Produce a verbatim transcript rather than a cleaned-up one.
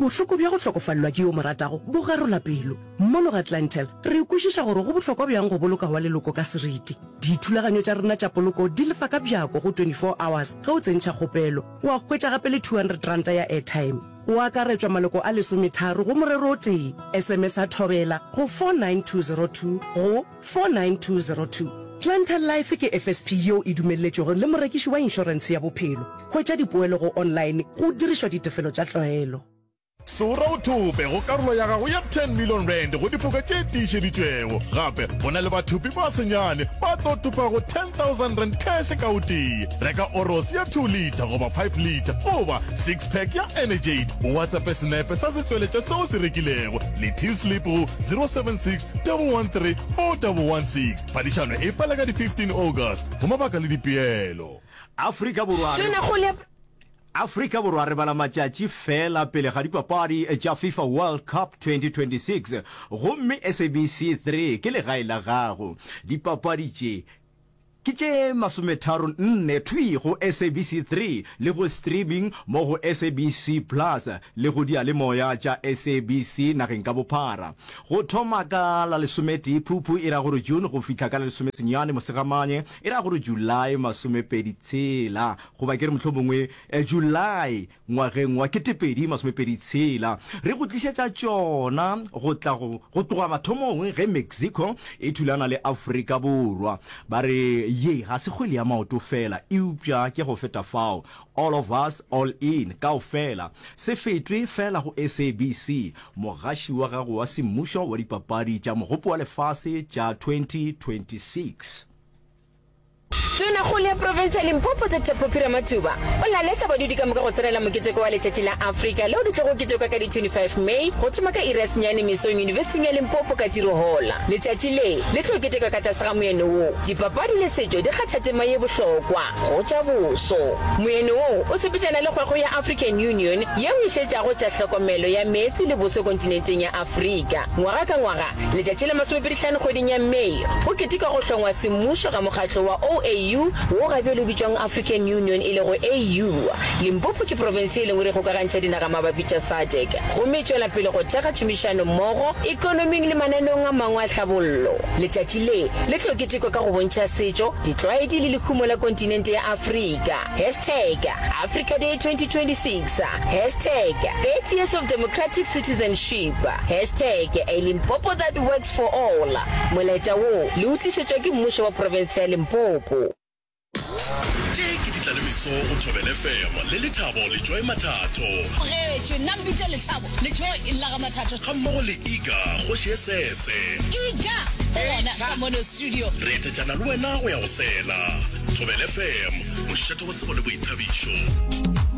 Bohloko bja go hlokofalelwa ke yo mo ratago bo garola pelo. Mono ga Clientele, re kwešiša gore go bohlokwa bjang go boloka wa leloko ka seriti. Dithulaganyo tša rena tša poloko di lefa ka bjako go twenty four hours ge o tsentšha kgopelo, wa hwetša gape le two hundred ranta ya airtime. Go akaretšwa maloko a lesometharo go morero o tee. S M S a Thobela go four nine two zero two go four nine two zero two. Clientele Life ke F S P yeo e dumelletšwego le morekiši wa inšorentshe ya bophelo. Hwetša dipoelo go online go dirišwa ditefelo tša tlwaelo. Sora o thope go karolo ya gago ya ten million rand go difoka tše tiišeditšwego. Gape go na le bathopi ba senyane ba tlo thopago ten thousand rand cash ka o tee. Reka Oros ya two litre goba five litre goba six pack ya Energade, o WhatsApp senepe sa setsweletša seo se rekilego le till slip go zero seven six one one three four one one six. Phadišano e fela ka di fifteen August. Go mabaka le dipeelo. Afrika Borwa re Tonakgolo ya Afrika Borwa re bala matšatši fela pele ga dipapadi tša FIFA World Cup twenty twenty-six gomme S A B C three ke legae la gago. Dipapadi tše ke tše masometharo nne thwi go S A B C three le go streaming mo go S A B C Plus le go diyalemoya tša S A B C nageng ka bophara. Go thoma ka la lesometee Phuphu e ra gore June go fihla ka la lesomesenyane Mosegamanye e ra gore July masomepedi tshela goba ke re mohlomongwe July ngwageng wa ketepedi masomepedi tshela. Re go tlišetša tšona go tla go go tloga mathomong ge Mexico e thulana le Afrika Borwa. Ba re ye ga se kgwele ya maoto fela eupša ke go feta fao. All of us all in kaofela. Se fetwe fela go S A B C, mogaši wa gago wa semmušo wa dipapadi tša Mogopo wa Lefase tša twenty twenty-six. Tonakgolo ya profense ya Limpopo Doctor Phophi Ramathuba o laletša badudi ka moka go tsenela moketeko wa Letšatši la Afrika leo le tlogo ketekwa ka di twenty-five May go thoma ka iri ya senyane mesong Yunibesithing ya Limpopo ka Tiro Hall. Letšatši le le tlo ketekwa ka tlase ga moeno wo, Dipapadi le setšo di kgatha tema ye bohlokwa go tša boso. Moeno wo o sepetšana le kgwekgwe ya African Union yeo e šetšago tša hlokomelo ya meetse le boso kontinenteng ya Afrika. Ngwaga ka ngwaga, letšatši la masomepedi-hlano kgweding ya May go ketekwa go hlongwa semmušo ga mokgatlo wa O A U wo ga bjale o bitšwang African Union e lego A U. Limpopo ke profense e lengwe re kgokagantšha dinaga mabapi tša SADC gomme e tšwela pele go thekga tšhomišano mmogo ekonoming le mananeong a mangwe a tlhabollo. Letšatši le le tlo ketekwa ka go bontšha setšo, ditlwaedi le lehumo la kontinente ya Afrika. Hashtag Africa Day twenty twenty-six, hashtag thirty years of democratic citizenship, hashtag a Limpopo that works for all. Molaetša wo le o tlišetšwa ke mmušo wa profense ya Limpopo. Tše ke ditlalemeso go Thobela F M le Lethabo le Joy Mathatho. Tlogetšwe nna mpitše Lethabo le Joy la ga Mathatho. Ga mmogo le Iga kgoši e sese. Iga o gona ka mono studio. Re etetšana le wena go ya go sela. Thobela F M, mošate wa tsebo le boithabišo.